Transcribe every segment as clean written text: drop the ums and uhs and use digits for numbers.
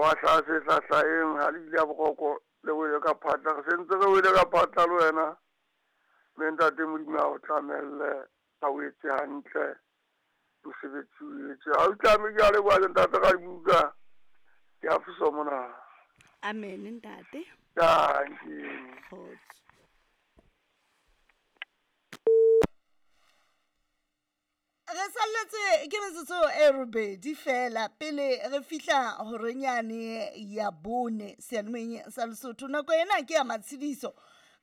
Wa hlaha se sa hlaheng ha le ile ya boroko le wele ka phatla. Re sentse re wele ka phatla le wena. Mme ntate Modimo a o tlamelle, a o etse hantle. Mosebetsi o etse. Ha o tlame ke a leboha ke ntate Radibuka. Ke a fosa mona. Amen ntate. Dankie. Kgotso. Re salletswe ke metsotso e robedi fela pele re fihla horenyane ya bone seyalemoyeng sa Lesotho. Nako ena ke ya matshediso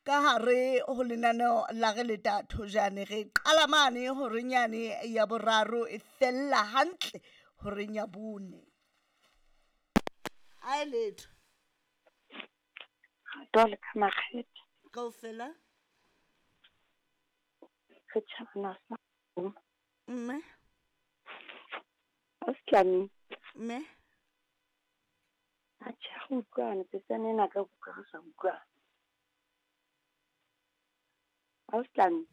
ka hare ho lenaneo la re leta thojane. Re qala mane horenyane ya boraro e fella hantle horeng ya bone. A e letho. Dole ka makgethe. Kaofela. Re tjhabana sa Mme. Ausi Mme. Atjhe, ha re utlwane tsetsana ena ka utlwa re sa utlwane. Ausi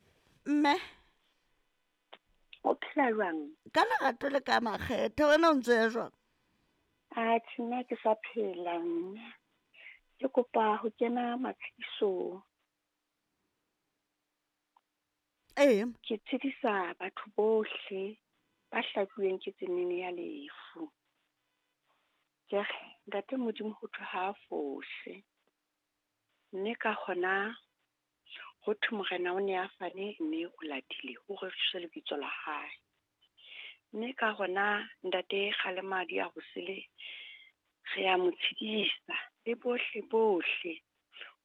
Mme. O phela jwang? Ka lerato le ka makgethe wena o ntso ya jwang? Atjhe, nna ke sa phela mme. Ke kopa ho kena matshedisong. Ee. Ke tshedisa batho bohle ba hlajuweng ke tsenene ya lefu. Ke re ntate Modimo ho thwe ha a fose. Mme ka hona ho thwe morena o ne a fane mme o latile ho roriswe lebitso la hae. Mme ka hona ntate Kgalemadi a hosele re a mo tshedisa le bohle bohle.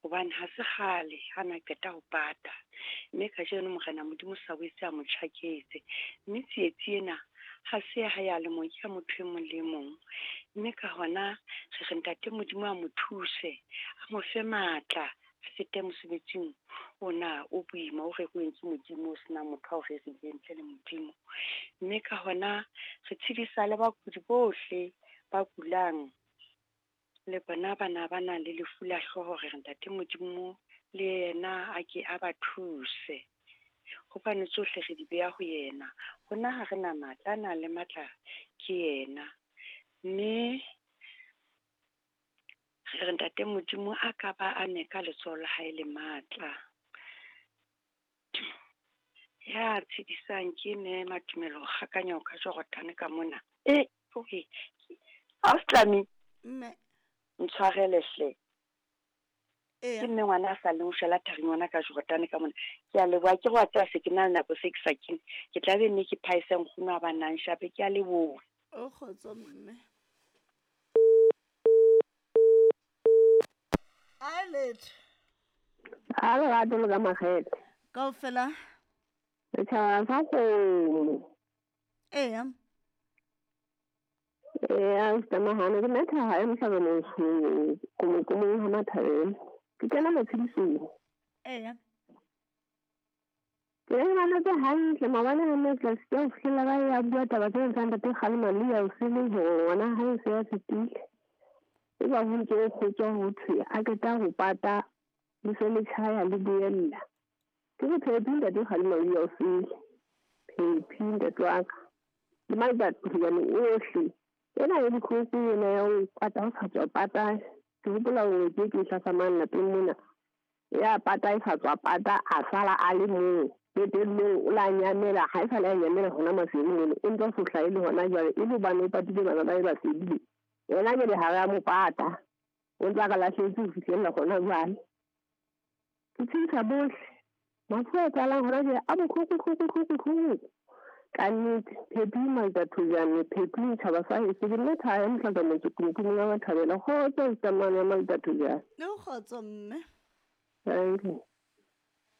Hobane ha se kgale ha na qeta ho pata. Mme kajeno morena Modimo sa boetse a mo tjhaketse. Mme tsietsi ena ha se ya hae a le mong, ke ya motho e mong le e mong. Mme ka hona re re ntate Modimo a mo thuse, a mo fe matla, a fete mosebetsing ona o boima o reruweng ke Modimo, o senang motho ao rerileng ntle le Modimo. Mme ka hona re tshedisa le bakudi bohle ba kulang, le bona bana ba nang le lefu la hlooho, re re ntate Modimo le yena a ke a ba thuse. Hobane tsohle re di beha ho yena. Rona ha re na matla, a nang le matla ke yena. Mme re re ntate Modimo a ka ba a me ka letsoho la hae le matla. Ya tshedisang ke mme Matumelo Kgakanyo ka Jordan ka mona. E, okay. Ausi Mme. Ntshwarele hle. Eya. Ke mme ngwana a sa leng o shwela tharing ngwana ka Jordan ka mona. Ke a leboha, ke re wa tseba se ke na le nako se ke sa kene. Ke tla be nne ke phaese nkgono a ba nang shape, ke a leboha. O kgotso mme. A letho. Ha lerato le ka makgethe. Kaofela. Setjhaba sa kgomo. Eya. Ee, ausi Mahane, ke nna Thaha e mohlabana komokomong ha Mathabela. Ke kena matshedisong. Eya. Ke ne ke mametse hantle maobane ha nne tlase ke ho fihlela ba ya bua taba tse tsa ntate Kgalema le ya osele hore ngwana hae se a fetile. E ba ho ntse ho kgotswa ho thwe a qeta ho pata le se le tjhaya le boella. Ke re phephi ntate Kgalema le ya osele. Phephi ntate wa ka. Le matsatsi ohle. Ena e bohloko ena ya ho pata ho sa tswa pata. Ke hopola hore ke ke hlasamang lapeng mona. Ya pata e sa tswa pata a sala a le mong. Qetellong o la nyamela, ha e sa le a nyamela hona maseleng mono. O ntse a sohla e le hona jwale, e le hobane o patile bana ba e ba sedile. Yena jwale ha re a mo pata. O ntse a re lahlehetse ho fihlella hona jwale. Ke tshedisa bohle. Mafu a etsahalang hona jwale a bohloko, hloko, hloko, hloko. Ka nnete, phephi Maltathojane, phephi tjhaba sa heso. Ke nna Thaya Mohlaka motse Kumkumong ya Mathabela. Kgotso tsamane ya Maltathojane. Le kgotso mme. Thank you.